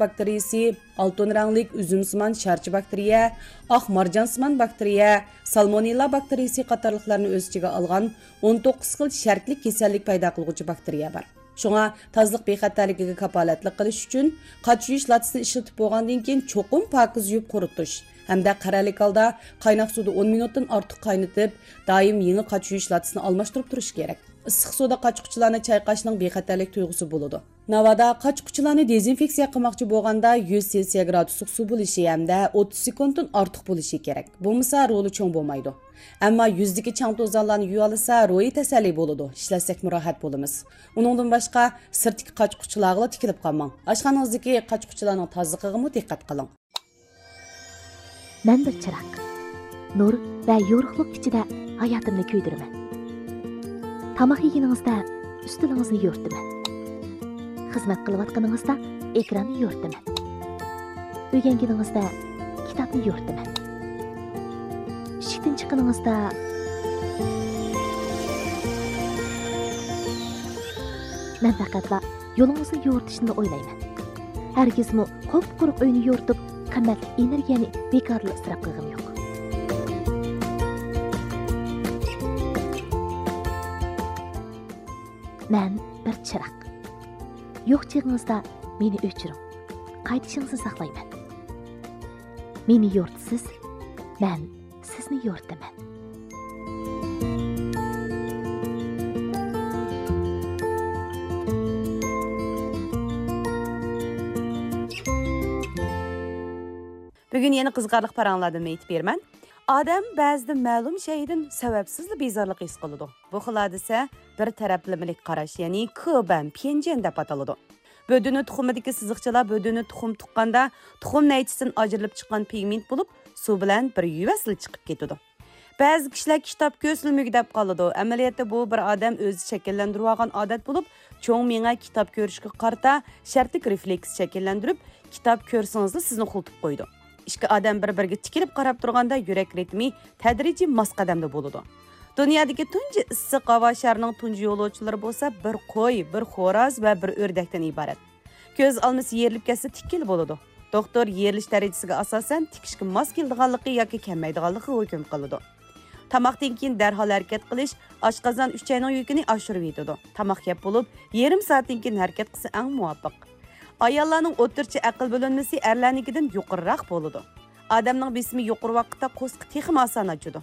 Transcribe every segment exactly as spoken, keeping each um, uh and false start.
باكتېرىيىسى، ئالتۇن رەڭلىك ئۈزۈمسىمان شارچە باكتېرىيە، ئاق مارجانسىمان باكتېرىيە، سالمونېللا باكتېرىيىسى قاتارلىقلارنى ئۆز ئىچىگە ئالغان ئون توققۇز خىل شەرتلىك كېسەللىك پەيدا قىلغۇچى باكتېرىيە بار. شۇڭا تازىلىق بېخەتەرلىكىگە كاپالەتلىك قىلىش ئۈچۈن، قاچ يۇيۇش لاتىسىنى ئىشلىتىپ بولغاندىن كېيىن چوقۇم پاكىز يۇيۇپ قۇرۇتۇش ھەمدە قەرەللىك ھالدا قايناق سۇدا ئون مىنۇتتىن ئارتۇق قاينىتىپ، دائىم يېڭى قاچ يۇيۇش لاتىسىنى ئالماشتۇرۇپ تۇرۇش كېرەك. ئىسسىق سۇدا قاچ-قۇچىلارنى چايقاشنىڭ بېخەتەرلىك تۇيغۇسى بولىدۇ. ناۋادا قاچ-قۇچىلارنى دېزىنفېكسىيە قىلماقچى بولغاندا، يۈز سېلسىيە گرادۇسلۇق سۇ بولۇشى ھەمدە ئوتتۇز سېكۇنتتىن ئارتۇق بولۇشى كېرەك. بولمىسا، رولى چوڭ بولمايدۇ. ئەمما يۈزدىكى چاڭ-توزانلارنى يۇيالىسا، روھىي تەسەللى بولىدۇ، ئىشلەتسەكمۇ راھەت بولىمىز. ئۇنىڭدىن باشقا، سىرتتىكى قاچ-قۇچىلارغىلا تىكىلىپ قالماڭ. ئاشخانىڭىزدىكى قاچ-قۇچىلارنىڭ تازىلىقىغىمۇ دىققەت قىلىڭ. مەن بىر چىراغ. نۇر ۋە يورۇقلۇق ئىچىدە ھاياتىمنى كۆيدۈرىمەن. تاماق يېگىنىڭىزدە ئۈستىلىڭىزنى يورۇتىمەن. خىزمەت قىلىۋاتقىنىڭىزدا ئېكراننى يورۇتىمەن. ئۆگەنگىنىڭىزدە كىتابنى يورۇتىمەن. ئىشىكتىن چىققىنىڭىزدا مەن پەقەتلا يولىڭىزنى يورۇتۇشنىلا ئويلايمەن. ھەرگىزمۇ قۇپقۇرۇق ئۆينى يورۇتۇپ، قىممەتلىك ئېنېرگىيەنى بىكاردىلا ئىسراپ قىلغىنىم يوق. مەن بىر چىراغ. يوق چېغىڭىزدا مېنى ئۆچۈرۈڭ. قايتىشىڭىزنى ساقلايمەن. مېنى يورۇتىسىز، مەن سىزنى يورۇتىمەن. بۈگۈن يەنە قىزىقارلىق پاراڭلاردىن ئېيتىپ بېرىمەن. ئادەم بەزىدە مەلۇم شەيئىدىن سەۋەبسىزلا بىزارلىق ھېس قىلىدۇ. بۇ خىل ھادىسە بىر تەرەپلىمىلىك قاراش، يەنى كېبەن پيەنجيەن دەپ ئاتىلىدۇ. بۆدۈنە تۇخۇمىدىكى سىزىقچىلار بۆدۈنە تۇخۇم تۇغقاندا، تۇخۇم نەيچىسىدىن ئاجرىلىپ چىققان پىگمېنت بولۇپ، سۇ بىلەن بىر يۇيۇۋەتسىلا چىقىپ كېتىدۇ. بەزى كىشىلەر كىتاب كۆرسىلا مۈگدەپ قالىدۇ. ئەمەلىيەتتە بۇ بىر ئادەم ئۆزى شەكىللەندۈرۈۋالغان ئادەت بولۇپ، چوڭ مېڭە كىتاب كۆرۈشكە قارىتا شەرتلىك رېفلېكس شەكىللەندۈرۈپ، كىتاب كۆرسىڭىزلا سىزنى خۇلتىپ قويىدۇ. ئىككى ئادەم بىر-بىرىگە تىكىلىپ قاراپ تۇرغاندا يۈرەك رىتمى تەدرىجىي ماس قەدەمدە بولىدۇ. دۇنيادىكى تۇنجى ئىسسىق ھاۋا شارىنىڭ تۇنجى يولۇچىلىرى بولسا بىر قوي، بىر خوراز ۋە بىر ئۆردەكتىن ئىبارەت. كۆز ئالمىسى يېرىلىپ كەتسە تىككىلى بولىدۇ. دوختۇر يېرىلىش دەرىجىسىگە ئاساسەن تىكىشكە ماس كېلىدىغانلىقى ياكى كەلمەيدىغانلىقىغا ھۆكۈم قىلىدۇ. تاماقتىن كېيىن دەرھال ھەرىكەت قىلىش ئاشقازان ئۈچەينىڭ يۈكىنى ئاشۇرۇۋېتىدۇ. تاماق يەپ بولۇپ، يېرىم سائەتتىن كېيىن ھەرىكەت قىلسا ئەڭ مۇۋاپىق. ئاياللارنىڭ ئوتتۇرىچە ئەقىل بۆلۈنمىسى ئەرلەرنىڭكىدىن يۇقىرىراق بولىدۇ. ئادەمنىڭ بېسىمى يۇقىرى ۋاقىتتا قورسىقى تېخىمۇ ئاسان ئاچىدۇ.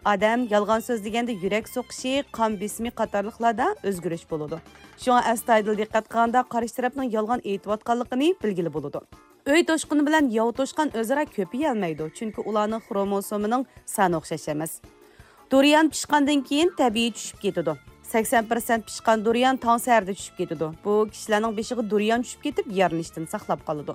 ئادەم يالغان سۆزلىگەندە يۈرەك سوقۇشى، قان بېسىمى قاتارلىقلاردا ئۆزگىرىش بولىدۇ. شۇڭا ئەستايىدىل دىققەت قىلغاندا قارشى تەرەپنىڭ يالغان ئېيتىۋاتقانلىقىنى بىلگىلى بولىدۇ. ئۆي توشقىنى بىلەن ياۋا توشقان ئۆزئارا كۆپىيەلمەيدۇ، چۈنكى ئۇلارنىڭ خروموسومىنىڭ سانى ئوخشاش ئەمەس. دۇريان پىشقاندىن كېيىن تەبىئىي چۈشۈپ كېتىدۇ. سەكسەن پىرسەنت پىشقان دۇريان تاڭ سەھەردە چۈشۈپ كېتىدۇ. بۇ كىشىلەرنىڭ بېشىغا دۇريان چۈشۈپ كېتىپ، يارىلىنىشتىن ساقلاپ قالىدۇ.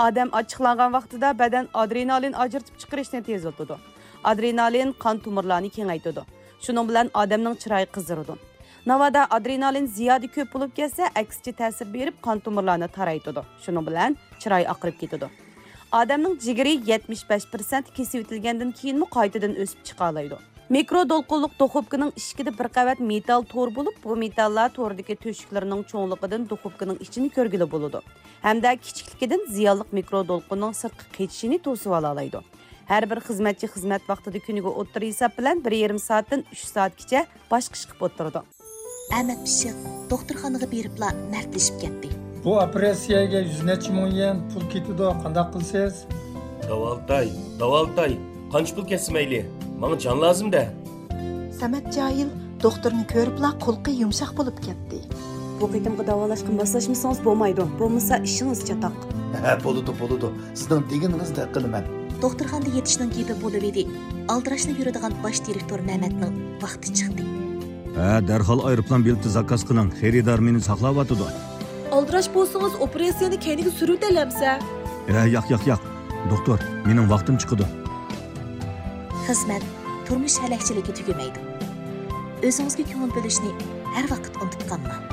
ئادەم ئاچچىقلانغان ۋاقتىدا بەدەن ئادرېنالىن ئاجرىتىپ چىقىرىشنى تېزلىتىدۇ. ئادرېنالىن قان تومۇرلارنى كېڭەيتىدۇ. شۇنىڭ بىلەن ئادەمنىڭ چىرايى قىزىرىدۇ. ناۋادا ئادرېنالىن زىيادە كۆپ بولۇپ كەتسە، ئەكسىچە تەسىر بېرىپ، قان تومۇرلارنى تارايتىدۇ. شۇنىڭ بىلەن چىراي ئاقىرىپ كېتىدۇ. ئادەمنىڭ جىگىرى يەتمىش بەش پىرسەنت كېسىۋېتىلگەندىن كېيىنمۇ قايتىدىن ئۆسۈپ چىقالايدۇ. مىكرو دولقۇنلۇق دۇخوپكىنىڭ ئىشىكىدە بىر قەۋەت مېتال تور بولۇپ، بۇ مېتاللار توردىكى تۆشۈكلىرىنىڭ چوڭلۇقىدىن دۇخوپكىنىڭ ئىچىنى كۆرگىلى بولىدۇ ھەمدە كىچىكلىكىدىن زىيانلىق مىكرو دولقۇننىڭ سىرتقا قېچىشىنى توسۇۋالالايدۇ. ھەر بىر خىزمەتچى خىزمەت ۋاقتىدا كۈنىگە ئوتتۇرا ھېساب بىلەن بىر يېرىم سائەتتىن ئۈچ سائەتكىچە باش قىشقىپ ئولتۇرىدۇ. ئەمەت پىششىق دوختۇرخانىغا بېرىپلا مەردلىشىپ كەتتى. بۇ ئوپېراتسىيەگە يۈز نەچچە مىڭ يۈەن پۇل كېتىدۇ، قانداق قىلىسىز؟ داۋالىتاي، داۋالىتاي، قانچە پۇل كەتسە مەيلى، ماڭا جان لازىم-دە. سەمەت جاھىل دوختۇرنى كۆرۈپلا قۇلىقى يۇمشاق بولۇپ كەتتى. بۇ قېتىمقى داۋالاشقا ماسلاشمىسىڭىز بولمايدۇ، بولمىسا ئىشىڭىز چاتاق. ھە، بولىدۇ، بولىدۇ، سىزنىڭ دېگىنىڭىزدەك قىلىمەن. دوختۇرخانىدا يېتىشنىڭ گېپى بولۇۋىدى. ئالدىراشلا يۈرىدىغان باش دىرېكتور مەمەتنىڭ ۋاقتى چىقتى. ھە، دەرھال ئايروپىلان بېلىتى زاكاز قىلىڭ، خېرىدار مېنى ساقلاۋاتىدۇ. ئالدىراش بولسىڭىز، ئوپېراتسىيەنى كەينىگە سۈرۈۋېتەلەمسە؟ ھە، ياق، ياق، ياق. دوختۇر، مېنىڭ ۋاقتىم چىقىدۇ. خىزمەت، تۇرمۇش ھەلەكچىلىكى تۈگىمەيدۇ. ئۆزىڭىزگە كۆڭۈل بۆلۈشنى ھەر ۋاقىت ئۇنتۇپ قالماڭ.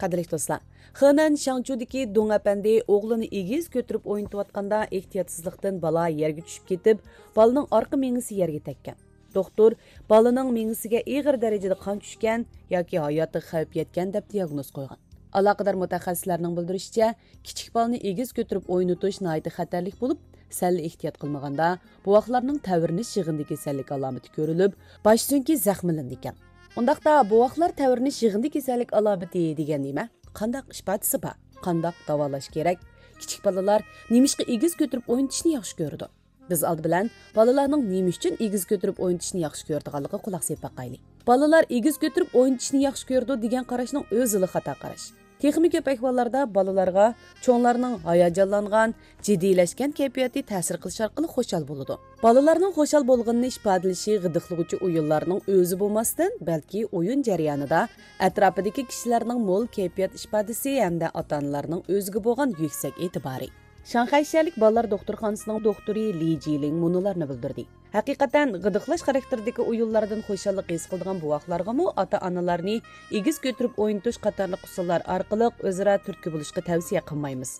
قەدىرلىك دوستلار، خېنەن شاڭچۇدىكى دۇڭ ئەپەندى ئوغلىنى ئېگىز كۆتۈرۈپ ئوينىتىۋاتقاندا، ئېھتىياتسىزلىقتىن بالا يەرگە چۈشۈپ كېتىپ، بالىنىڭ ئارقا مېڭىسى يەرگە تەگكەن. دوختۇر بالىنىڭ مېڭىسىگە ئېغىر دەرىجىدە قان چۈشكەن ياكى ھاياتىغا خەۋپ يەتكەن دەپ دىياگنوز قويغان. ئالاقىدار مۇتەخەسسىسلەرنىڭ بىلدۈرۈشىچە، كىچىك بالىنى ئېگىز كۆتۈرۈپ ئوينىتىش ناھايىتى خەتەرلىك بولۇپ، سەللا ئېھتىيات قىلمىغاندا، بوۋاقلارنىڭ تەۋرىنىش يىغىندى كېسەللىكى ئالامىتى كۆرۈلۈپ، باش سۆڭىكى زەخىملىنىدىكەن. ئۇنداقتا بوۋاقلار تەۋرىنىش يىغىندى كېسەللىك ئالامىتى دېگەن نېمە؟ قانداق ئىپادىسى بار؟ قانداق داۋالاش كېرەك؟ كىچىك بالىلار نېمىشقا ئېگىز كۆتۈرۈپ ئوينىتىشنى ياخشى كۆرىدۇ؟ بىز ئالدى بىلەن بالىلارنىڭ نېمە ئۈچۈن ئېگىز كۆتۈرۈپ ئوينىتىشنى ياخشى كۆرىدىغانلىقىغا قۇلاق سېلىپ باقايلى. بالىلار ئېگىز كۆتۈرۈپ ئوينىتىشنى ياخشى كۆرىدۇ دېگەن قاراشنىڭ ئۆزىلا خاتا قاراش. تېخىمۇ كۆپ ئەھۋاللاردا بالىلارغا چوڭلارنىڭ ھاياجانلانغان، جىددىيلەشكەن كەيپىياتى تەسىر قىلىشى ئارقىلىق خۇشال بولىدۇ. بالىلارنىڭ خۇشال بولغىنىنى ئىپادىلىشى غىدىقلىغۇچى ئويۇنلارنىڭ ئۆزى بولماستىن، بەلكى ئويۇن جەريانىدا ئەتراپىدىكى كىشىلەرنىڭ مول كەيپىيات ئىپادىسى ھەمدە ئاتا-ئانىلارنىڭ ئۆزىگە بولغان يۈكسەك ئېتىبارى. شاڭخەي شەھەرلىك بالىلار دوختۇرخانىسىنىڭ دوختۇرى لى جىلىڭ مۇنۇلارنى بىلدۈردى. ھەقىقەتەن، غىدىقلاش خاراكتېرىدىكى ئويۇنلاردىن خۇشاللىق ھېس قىلىدىغان بوۋاقلارغىمۇ ئاتا-ئانىلارنى ئېگىز كۆتۈرۈپ ئوينىتىش قاتارلىق ئۇسۇللار ئارقىلىق ئۆزئارا تۈرتكە بولۇشقا تەۋسىيە قىلمايمىز.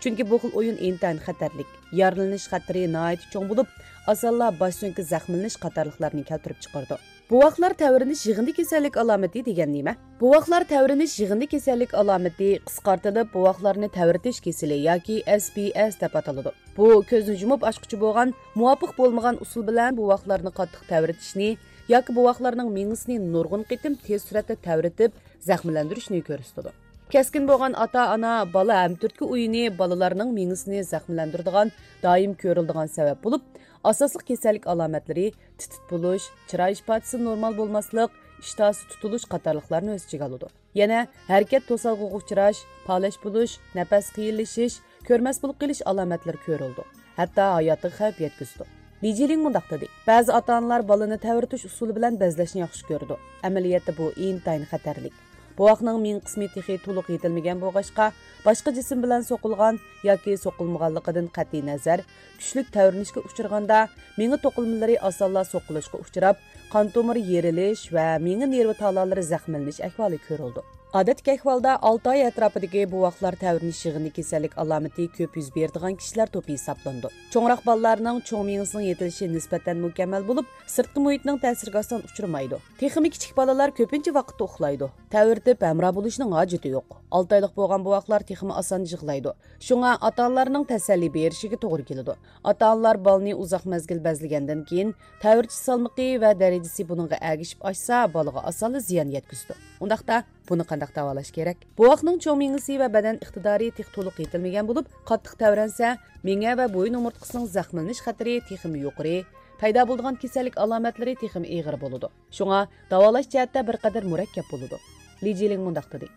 چۈنكى بۇ خىل ئويۇن ئىنتايىن خەتەرلىك، يارىلىنىش خەتىرى ناھايىتى چوڭ بولۇپ، ئاسانلا باش سۆڭىكى زەخىملىنىش قاتارلىقلارنى كەلتۈرۈپ چىقىرىدۇ. بوۋاقلار تەۋرىنىش يىغىندى كېسەللىك ئالامىتى دېگەن نېمە؟ بوۋاقلار تەۋرىنىش يىغىندى كېسەللىك ئالامىتى، قىسقارتىلىپ بوۋاقلارنى تەۋرىتىش كېسىلى ياكى ئەس بى ئەس دەپ ئاتىلىدۇ. بۇ كۆزنى يۇمۇپ ئاچقۇچە بولغان، مۇۋاپىق بولمىغان ئۇسۇل بىلەن بوۋاقلارنى قاتتىق تەۋرىتىشنى ياكى بوۋاقلارنىڭ مېڭىسىنى نۇرغۇن قېتىم تېز سۈرئەتتە تەۋرىتىپ زەخىملەندۈرۈشنى كۆرسىتىدۇ. كەسكىن بولغان ئاتا-ئانا، بالا ھەم تۈرتكە ئويۇنى بالىلارنىڭ مېڭىسىنى زەخىملەندۈرىدىغان دائىم كۆرۈلىدىغان سەۋەب بولۇپ، ئاساسلىق كېسەللىك ئالامەتلىرى تىت-تىت بولۇش، چىراي ئىپادىسى نورمال بولماسلىق، ئىشتىھاسى تۇتۇلۇش قاتارلىقلارنى ئۆز ئىچىگە ئالىدۇ. يەنە ھەرىكەت توسالغۇغا ئۇچراش، پالەچ بولۇش، نەپەس قىيىنلىشىش، كۆرمەس بولۇپ قېلىش ئالامەتلىرى كۆرۈلىدۇ. ھەتتا ھاياتىغا خەۋپ يەتكۈزىدۇ. لى جىلىڭ مۇنداق دېدى، بەزى ئاتا-ئانىلار بالىنى تەۋرىتىش ئۇسۇلى بىلەن بەزلەشنى ياخشى كۆرىدۇ. ئەمەلىيەتتە بۇ ئىنتايىن خەتەرلىك. بوۋاقنىڭ مېڭە قىسمى تېخى تولۇق يېتىلمىگەن بولغاچقا، باشقا جىسىم بىلەن سوقۇلغان ياكى سوقۇلمىغانلىقىدىن قەتئىينەزەر، كۈچلۈك تەۋرىنىشكە ئۇچرىغاندا، مېڭە توقۇلمىلىرى ئاسانلا سوقۇلۇشقا ئۇچراپ، قان تومۇرى يېرىلىش ۋە مېڭە نېرۋا تالالىرى زەخىملىنىش ئەھۋالى كۆرۈلىدۇ. ئادەتتىكى ئەھۋالدا ئالتە ئاي ئەتراپىدىكى بوۋاقلار تەۋرىنىش يىغىندى كېسەللىك ئالامىتى كۆپ يۈز بېرىدىغان كىشىلەر توپى ھېسابلىنىدۇ. چوڭراق بالىلارنىڭ چوڭ مېڭىسىنىڭ يېتىلىشى نىسبەتەن مۇكەممەل بولۇپ، سىرتقى مۇھىتنىڭ تەسىرىگە ئاسان ئۇچرىمايدۇ. تېخىمۇ كىچىك بالىلار كۆپىنچە ۋاقىتتا ئۇخلايدۇ. تەۋرىتىپ ھەمراھ بولۇشنىڭ ھاجىتى يوق. ئالتە ئايلىق بولغان بوۋاقلار تېخىمۇ ئاسان يىغلايدۇ. شۇڭا ئاتا-ئانىلارنىڭ تەسەللى بېرىشىگە توغرا كېلىدۇ. ئاتا-ئانىلار بالىنى ئۇزاق مەزگىل بەزلىگەندىن كېيىن، تەۋرىتىش سالمىقى ۋە دەرىجىسى بۇنىڭغا ئەگىشىپ ئاشسا، بالىغا ئاسانلا زىيان يەتكۈزىدۇ. ئۇنداقتا، بۇنى قانداق داۋالاش كېرەك؟ بوۋاقنىڭ چوڭ مېڭىسى ۋە بەدەن ئىقتىدارى تېخى تولۇق يېتىلمىگەن بولۇپ، قاتتىق تەۋرەنسە، مىيە ۋە بويۇن ئومۇرتقىسىنىڭ زەخىملىنىش خەتىرى تېخىمۇ يۇقىرى، پەيدا بولىدىغان كېسەللىك ئالامەتلىرى تېخىمۇ ئېغىر بولىدۇ. شۇڭا داۋالاش جەھەتتە بىر قەدەر مۇرەككەپ بولىدۇ. لى جىلىڭ مۇنداق دېدى،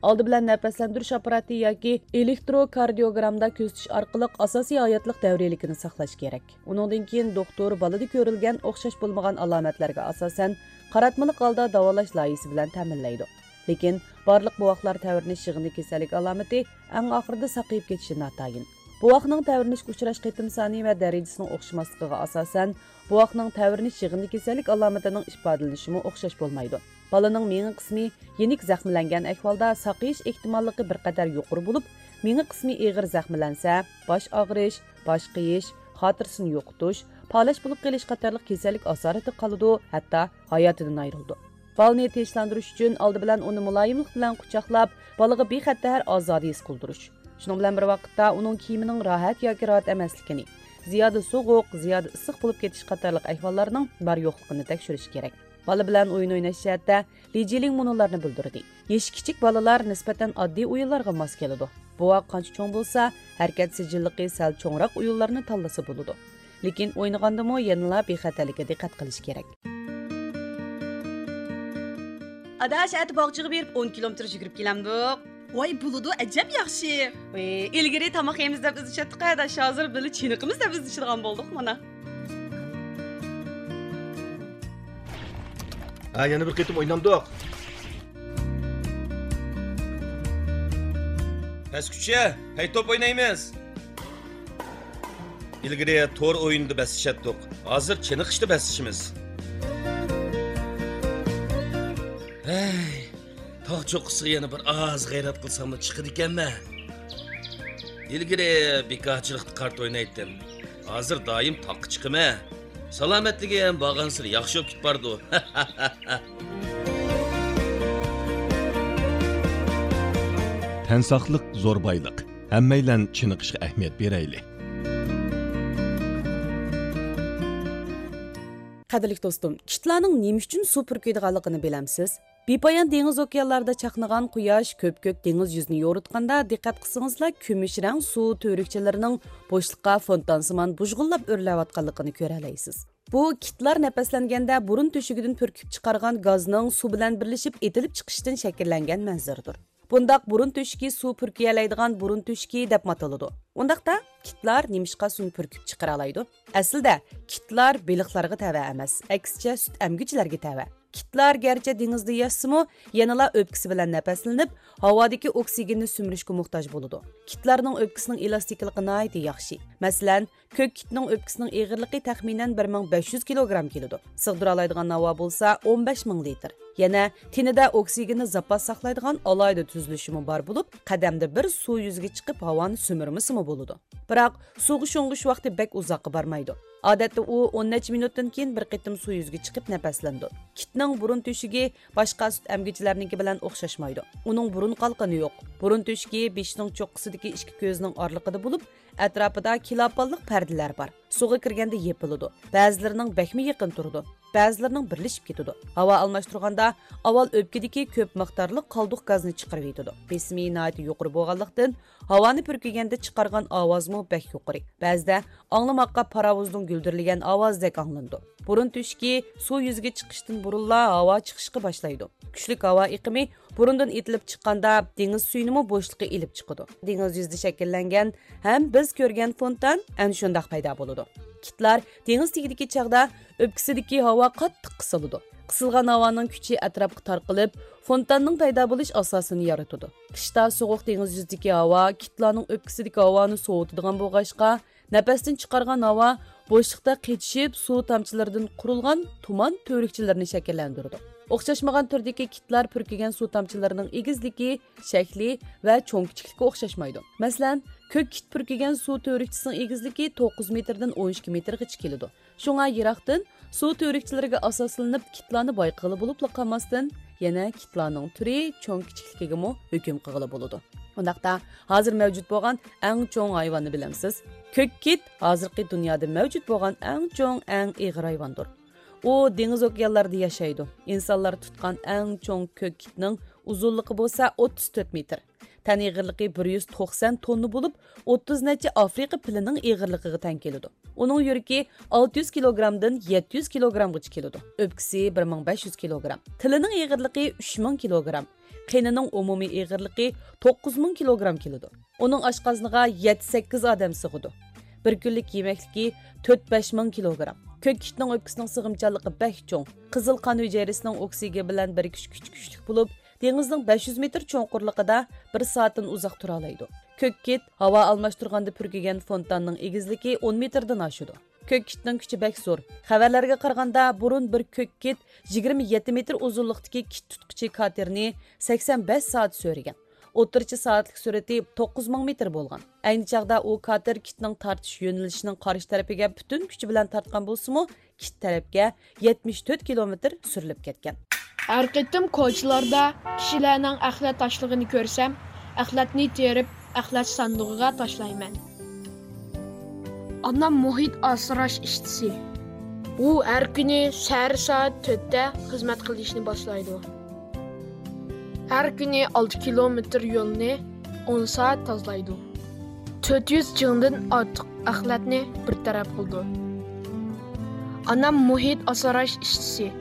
ئالدى بىلەن نەپەسلەندۈرۈش ئاپپاراتى ياكى ئېلېكتروكاردىيوگراممىدا كۆزىتىش ئارقىلىق ئاساسىي ھاياتلىق دەۋرىيلىكىنى ساقلاش كېرەك. ئۇنىڭدىن كېيىن دوختۇر بالىدا كۆرۈلگەن ئوخشاش بولمىغان ئالامەتلەرگە ئاساسەن، قاراتمىلىق ھالدا داۋالاش لايىھىسى بىلەن تەمىنلەيدۇ. لېكىن بارلىق بوۋاقلار تەۋرىنىش يىغىندى كېسەللىك ئالامىتى ئەڭ ئاخىرىدا ساقىيىپ كېتىشى ناتايىن. بوۋاقنىڭ تەۋرىنىشكە ئۇچراش قېتىم سانى ۋە دەرىجىسىنىڭ ئوخشىماسلىقىغا ئاساسەن، بوۋاقنىڭ تەۋرىنىش يىغىندى كېسەللىك ئالامىتىنىڭ ئىپادىلىنىشىمۇ ئوخشاش بولمايدۇ. بالىنىڭ مېڭە قىسمى يېنىك زەخىملەنگەن ئەھۋالدا ساقىيىش ئېھتىماللىقى بىر قەدەر يۇقىرى بولۇپ، مېڭە قىسمى ئېغىر زەخىملەنسە، باش ئاغرىش، باش قېيىش، خاتىرىسىنى يوقىتىش، پالەچ بولۇپ قېلىش قاتارلىق كېسەللىك ئاسارىتىگە قالىدۇ، ھەتتا ھاياتىدىن ئايرىلىدۇ. بالىنى تىنچلاندۇرۇش ئۈچۈن ئالدى بىلەن ئۇنى مۇلايىملىق بىلەن قۇچاقلاپ، بالىغا بىخەتەر ئازادە ھېس قىلدۇرۇش. شۇنىڭ بىلەن بىر ۋاقىتتا ئۇنىڭ كىيىمىنىڭ راھەت ياكى راھەت ئەمەسلىكىنى، زىيادە سوغۇق، زىيادە ئىسسىق بولۇپ كېتىش قاتارلىق ئەھۋاللارنىڭ بار يوقلۇقىنى تەكشۈرۈش كېرەك. بالا بىلەن ئويۇن ئويناش جەھەتتە لى جىلىڭ مۇنۇلارنى بىلدۈردى. يېشى كىچىك بالىلار نىسبەتەن ئاددىي ئويۇنلارغا ماس كېلىدۇ. بوۋاق قانچە چوڭ بولسا، ھەرىكەت سىجىللىقى سەل چوڭراق ئويۇنلارنى تاللىسا بولىدۇ. لېكىن ئوينىغاندىمۇ يەنىلا بىخەتەرلىككە دىققەت قىلىش كېرەك. ئاداش، ئەتە باغچىغا بېرىپ ئون كىلومېتىر يۈگۈرۈپ كېلەمدۇق. ۋاي، بولىدۇ، ئەجەب ياخشى. ۋى، ئىلگىرى تاماق يەيمىز دەپ ئىزدىشەتتۇق ئاداش، ھازىر بىللە چېنىقىمىز دەپ ئىزدىشىدىغان بولدۇق مانا. ھە، يەنە بىر قېتىم ئوينامدۇق. پەسكۈچە، پەي توپ ئوينايمىز. ئىلگىرى تور ئويۇنىدا بەسلىشەتتۇق، ھازىر چېنىقىشتا بەسلىشىمىز. ھەي، تاغ چوققىسىغا يەنە بىر ئاز غەيرەت قىلساممۇ چىقىدىكەنمەن. ئىلگىرى بىكارچىلىقتا كارتا ئوينايتتىم، ھازىر دائىم تاغقا چىقىمەن. سالامەتلىكى ھەم بارغانسېرى ياخشى بولۇپ كېتىپ بارىدۇ. تەن ساقلىق زور بايلىق. ھەممەيلەن چېنىقىشقا ئەھمىيەت بېرەيلى. قەدىرلىك دوستۇم، كىتلارنىڭ نېمە ئۈچۈن سۇ پۈركۈيدىغانلىقىنى بىلەمسىز؟ بىپايان دېڭىز ئوكيانلاردا چاقنىغان قۇياش كۆپكۆك دېڭىز يۈزىنى يورۇتقاندا، دىققەت قىلسىڭىزلا، كۈمۈش رەڭ سۇ تۈۋرۈكچىلىرىنىڭ بوشلۇققا فونتان سىمان بۇژغۇنلاپ ئۆرلەۋاتقانلىقىنى كۆرەلەيسىز. بۇ كىتلار نەپەسلەنگەندە بۇرۇن تۆشۈكىدىن پۈركۈپ چىقارغان گازنىڭ سۇ بىلەن بىرلىشىپ ئېتىلىپ چىقىشىدىن شەكىللەنگەن مەنزىرىدۇر. بۇنداق بۇرۇن تۆشۈكى سۇ پۈركىيەلەيدىغان بۇرۇن تۆشۈكى دەپمۇ ئاتىلىدۇ. ئۇنداقتا، كىتلار نېمىشقا سۇنى پۈركۈپ چىقىرالايدۇ؟ ئەسلىدە، كىتلار بېلىقلارغا تەۋە ئەمەس، ئەكسىچە سۈت ئەمگۈچىلەرگە تەۋە. كىتلار گەرچە دېڭىزدا ياشىسىمۇ، يەنىلا ئۆپكىسى بىلەن نەپەسلىنىپ، ھاۋادىكى ئوكسىگېننى سۈمۈرۈشكە موھتاج بولىدۇ. كىتلارنىڭ ئۆپكىسىنىڭ ئېلاستىكىلىقى ناھايىتى ياخشى. مەسىلەن، كۆك كىتنىڭ ئۆپكىسىنىڭ ئېغىرلىقى تەخمىنەن بىر مىڭ بەش يۈز كىلوگرام كېلىدۇ. سىغدۇرالايدىغان ھاۋا بولسا ئون بەش مىڭ لىتىر. يەنە تېنىدە ئوكسىگېننى زاپاس ساقلايدىغان ئالاھىدە تۈزۈلۈشىمۇ بار بولۇپ، قەدەمدە بىر سۇ يۈزىگە چىقىپ ھاۋانى سۈمۈرمىسىمۇ بولىدۇ. بىراق، سۇغا شۇڭغۇش ۋاقتى بەك ئۇزاققا بارمايدۇ. ئادەتتە ئۇ ئون نەچچە مىنۇتتىن كېيىن بىر قېتىم سۇ يۈزىگە چىقىپ نەپەسلىنىدۇ. كىتنىڭ بۇرۇن تۆشۈكى باشقا سۈت ئەمگۈچىلەرنىڭكى بىلەن ئوخشاشمايدۇ. ئۇنىڭ بۇرۇن قالقىنى يوق. بۇرۇن تۆشۈكى بېشىنىڭ چوققىسىدىكى ئىككى كۆزىنىڭ ئارىلىقىدا بولۇپ، ئەتراپىدا كىلاپانلىق پەردىلەر بار. سۇغا كىرگەندە يېپىلىدۇ. بەزىلىرىنىڭ بەكمۇ يېقىن تۇرىدۇ. بەزىلىرىنىڭ بىرلىشىپ كېتىدۇ. ھاۋا ئالماشتۇرغاندا ئاۋۋال ئۆپكىدىكى كۆپ مىقدارلىق قالدۇق گازنى چىقىرىۋېتىدۇ. بېسىمى ناھايىتى يۇقىرى بولغانلىقتىن، ھاۋانى پۈركىگەندە چىقارغان ئاۋازمۇ بەك يۇقىرى. بەزىدە ئاڭلىماققا پاراۋۇزنىڭ گۈلدۈرلىگەن ئاۋازىدەك ئاڭلىنىدۇ. بۇرۇن تۆشۈكى سۇ يۈزىگە چىقىشتىن بۇرۇنلا ھاۋا چىقىشقا باشلايدۇ. كۈچلۈك ھاۋا ئېقىمى بۇرۇندىن ئېتىلىپ چىققاندا، دېڭىز سۈيىنىمۇ بوشلۇقى ئېلىپ چىقىدۇ. دېڭىز يۈزىدە شەكىللەنگەن ھەم بىز كۆرگەن فونتان ئەنە شۇنداق پەيدا بولىدۇ. كىتلار دېڭىز تېگىدىكى چاغدا ئۆپكىسىدىكى ھاۋا قاتتىق قىسىلىدۇ. قىسىلغان ھاۋانىڭ كۈچى ئەتراپقا تارقىلىپ، فونتاننىڭ پەيدا بولۇش ئاساسىنى يارىتىدۇ. قىشتا سوغۇق دېڭىز يۈزىدىكى ھاۋا كىتلارنىڭ ئۆپكىسىدىكى ھاۋانى سوۋۇتىدىغان بولغاچقا، نەپەستىن چىقارغان ھاۋا بوشلۇقتا قېتىشىپ، سۇ تامچىلىرىدىن قۇرۇلغان تۇمان تۈۋرۈكچىلىرىنى شەكىللەندۈرىدۇ. ئوخشاشمىغان تۈردىكى كىتلار پۈركىگەن سۇ تامچىلىرىنىڭ ئېگىزلىكى، شەكلى ۋە چوڭ كىچىكلىكى ئوخشاشمايدۇ. مەسىلەن، كۆك كىت پۈركىگەن سۇ تۈۋرۈكچىسىنىڭ ئېگىزلىكى توققۇز مېتىردىن ئون ئىككى مېتىرغىچە كېلىدۇ. شۇڭا يىراقتىن سۇ تۈۋرۈكچىلىرىگە ئاساسلىنىپ كىتلارنى بايقىغىلى بولۇپلا قالماستىن، يەنە كىتلارنىڭ تۈرى، چوڭ كىچىكلىكىگىمۇ ھۆكۈم قىلغىلى بولىدۇ. ئۇنداقتا، ھازىر مەۋجۇت بولغان ئەڭ چوڭ ھايۋاننى بىلەمسىز؟ كۆك كىت ھازىرقى دۇنيادا مەۋجۇت بولغان ئەڭ چوڭ، ئەڭ ئېغىر ھايۋاندۇر. ئۇ دېڭىز ئوكيانلاردا ياشايدۇ. ئىنسانلار تۇتقان ئەڭ چوڭ كۆك كىتنىڭ ئۇزۇنلۇقى بولسا ئوتتۇز تۆت مېتىر. تەن ئېغىرلىقى بىر يۈز توقسان توننا بولۇپ، ئوتتۇز نەچچە ئافرىقا پىلىنىڭ ئېغىرلىقىغا تەڭ كېلىدۇ. ئۇنىڭ يۈرىكى ئالتە يۈز كىلوگرامدىن يەتتە يۈز كىلوگرامغىچە كېلىدۇ. ئۆپكىسى بىر مىڭ بەش يۈز كىلوگرام. تىلىنىڭ ئېغىرلىقى ئۈچ مىڭ كىلوگرام. قېنىنىڭ ئومۇمىي ئېغىرلىقى توققۇز مىڭ كىلوگرام كېلىدۇ. ئۇنىڭ ئاشقازىنىغا يەتتە سەككىز ئادەم سىغىدۇ. بىر كۈنلۈك يېمەكلىكى تۆت بەش مىڭ كىلوگرام. كۆك كىتنىڭ ئۆپكىسىنىڭ سىغىمچانلىقى بەك چوڭ. قىزىل قان ھۈجەيرىسىنىڭ ئوكسىگېن بىلەن بىرىكىش كۈچى كۈچلۈك بولۇپ، دېڭىزنىڭ بەش يۈز مېتىر چوڭقۇرلۇقىدا بىر سائەتتىن ئۇزاق تۇرالايدۇ. كۆك كىت ھاۋا ئالماشتۇرغاندا پۈركىگەن فونتاننىڭ ئېگىزلىكى ئون مېتىردىن ئاشىدۇ. كۆك كىتنىڭ كۈچى بەك زور. خەۋەرلەرگە قارىغاندا، بۇرۇن بىر كۆك كىت يىگىرمە يەتتە مېتىر ئۇزۇنلۇقتىكى كىت تۇتقۇچى كاتېرنى سەكسەن بەش سائەت سۆرىگەن. ئوتتۇرىچە سائەتلىك سۈرئىتى توققۇز مىڭ مېتىر بولغان. ئەينى چاغدا ئۇ كاتېر كىتنىڭ تارتىش يۆنىلىشىنىڭ قارشى تەرىپىگە پۈتۈن كۈچى بىلەن تارتقان بولسىمۇ، كىت تەرەپكە يەتمىش تۆت كىلومېتىر سۈرۈلۈپ كەتكەن. ھەر قېتىم كوچىلاردا كىشىلەرنىڭ ئەخلەت تاشلىغىنى كۆرسەم، ئەخلەتنى تېرىپ، ئەخلەت ساندۇقىغا تاشلايمەن. ئانام مۇھىت ئاسراش ئىشچىسى. ئۇ ھەر كۈنى سەھەر سائەت تۆتتە خىزمەت قىلىشنى باشلايدۇ. ھەر كۈنى ئالتە كىلومېتىر يولنى ئون سائەت تازىلايدۇ. تۆت يۈز جىڭدىن ئارتۇق ئەخلەتنى بىر تەرەپ قىلىدۇ. ئانام مۇھىت ئاسراش ئىشچىسى.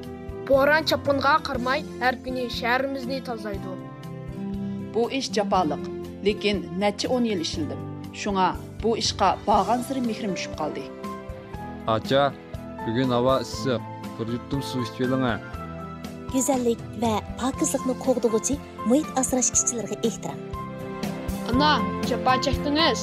بوران-چاپقۇنغا قارىماي، ھەر كۈنى شەھىرىمىزنى تازىلايدۇ. بۇ ئىش جاپالىق، لېكىن نەچچە ئون يىل ئىشلىدىم. شۇڭا بۇ ئىشقا بارغانسېرى مېھرىم چۈشۈپ قالدى. ئاچا، بۈگۈن ھاۋا ئىسسىق، بىر يۇتۇم سۇ ئىچىۋېلىڭە. گۈزەللىك ۋە پاكىزلىقنى قوغدىغۇچى مۇھىت ئاسراش ئىشچىلىرىغا ئېھتىرام. ئانا، جاپا چەكتىڭىز.